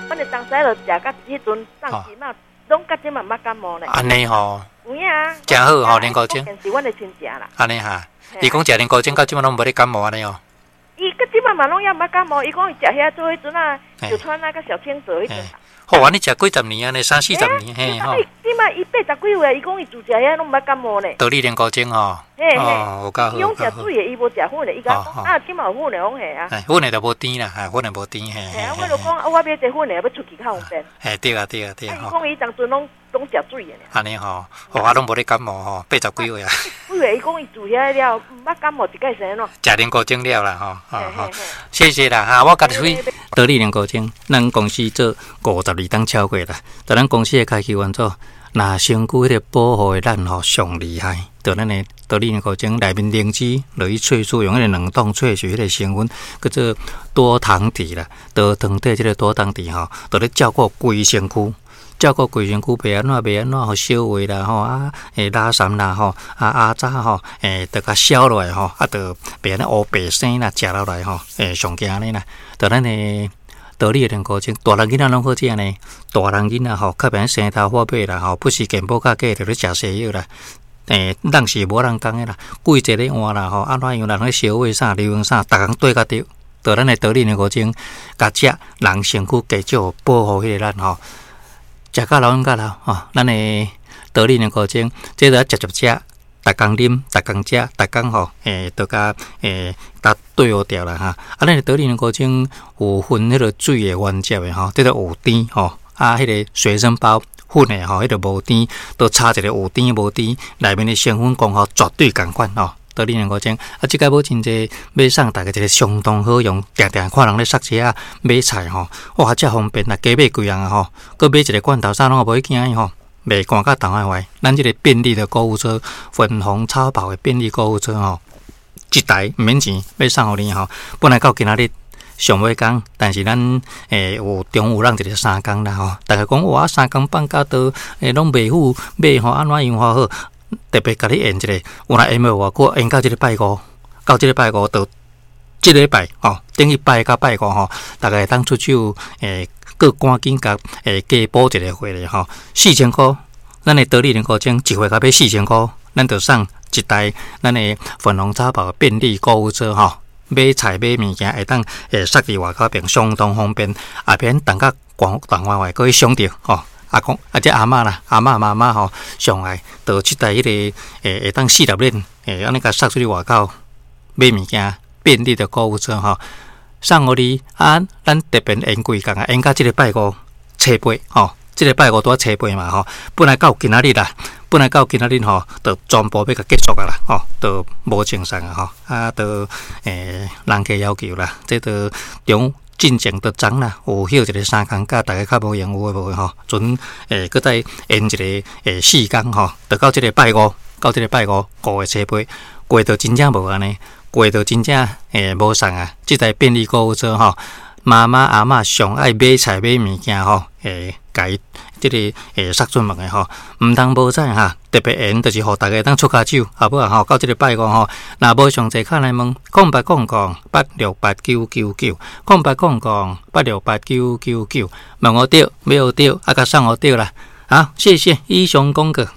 阮的東西就食到彼陣送這馬，攏到這馬毋捌感冒呢。按呢吼，有影啊。誠好吼，龍骨精。是阮的親戚啦。按呢哈，伊講食龍骨精到這馬攏無咧感冒按呢哦。伊到這馬嘛攏猶毋捌感冒，伊講伊食遐做彼陣啊，小川啊，佮小青澤彼陣。好，按呢食幾十年按呢，三四十年嘿吼。這馬伊80幾歲，伊講伊自食遐攏毋捌感冒呢。道理龍骨精吼。嘿嘿。哦，有夠好。伊攏食水的，伊無食粉的。伊講啊，這馬有粉的，講嘿啊。粉的就無甜啦，粉的無甜嘿。嘿啊，我就講啊，我買這粉的，欲出去較方便。嘿，對啊，對啊，對啊。伊講伊當陣攏攏食水的。按呢吼，哦，啊，攏無咧感冒吼，80幾歲啊。幾歲？伊講伊自遐了，毋捌感冒一擺是按怎？食龍骨精了啦吼，吼，謝謝啦哈，我家己去道理龍骨精，咱公司做52冬超過啦，佇咱公司的開啟員組，若身軀彼個保護的咱吼上厲害，佇咱的道理龍骨精內面靈芝落去萃取，用彼個冷凍萃取彼個成分，叫做多糖體啦，多糖體這個多糖體吼，佇咧照顧規身軀。照顧規身軀，袂按怎袂按怎，予消化啦吼啊，垃圾啦吼啊阿渣吼，著共消落來吼，啊，著袂按呢烏白生啦，食落來吼，上驚按呢啦。著咱的道理的龍骨精，大人囡仔攏好食呢。大人囡仔吼，較袂生頭髮尾啦吼，不是健保較假，著咧食西藥啦。人是無人共的啦，季節咧換啦吼，按怎樣人咧消化啥、流行啥，逐工對較著。著咱的道理龍骨精，共食人身軀加少保護彼個咱吼。食甲老飲甲老吼，咱的道理龍骨精，這著愛食食食，逐工啉，逐工食，逐工吼，著共共對付掉啦哈。啊，咱的道理龍骨精有分彼個水的原汁的吼，這個有甜吼，啊，彼個隨身包粉的吼，彼個無甜，都差一個有甜無甜，內面的成分功效絕對仝款吼。道理龍骨精，啊，這擺無真濟，欲送大家一個相當好用，定定看人咧捒車仔買菜吼，哇，遮方便啦，加買幾樣啊吼，閣買一個罐頭啥攏無去驚伊吼，袂寒甲凍壞。咱這個便利的購物車，粉紅超跑的便利購物車吼，一台毋免錢，欲送予你吼。本來到今仔日上尾工，但是咱有中午讓一個3工啦吼。大家講哇，3工放假都攏袂赴買吼，按怎樣較好？特別共你延一下，有若延袂偌久，延到這个拜五，到這个拜五就這禮拜吼，等於拜到拜五吼，大家會當出手閣趕緊共加補一個貨咧吼，4000箍，咱的道理龍骨精一貨共買四千箍，咱就送一台咱的粉紅超跑便利購物車吼，買菜買物件會當捒佇外口邊，相當方便，也免等甲寒凍壞壞，閣去傷著吼。阿公啊，這阿嬤啦，阿嬤媽媽吼，上愛就這台彼個會當四粒鏈，按呢共捒出去外口買物件，便利的購物車吼，送予你啊！咱特別延幾工啊，延到這个拜五初八吼，這个拜五拄仔初八嘛吼，本來到今仔日啦，本來到今仔日吼，就全部欲共結束啊啦，吼，就無贈送啊吼，啊，就人客要求啦，這就中。進前就昨啦，有歇一个3工假，大家較無閒有的無的吼，陣閣再延一个4工吼，就到這个拜五，到這个拜五5月初八，過就真正無按呢，過就真正無送啊！這台便利購物車吼，媽媽阿嬤上愛買菜買物件吼，共伊這個捒出門的吼，毋通無彩哈！特別延，就是予大家會當出跤手，好無啊吼？到這个拜五吼，若無上濟敲來問，0800868999，0800868999，問予著，買予著，啊，共送予著啦！好，謝謝，以上廣告。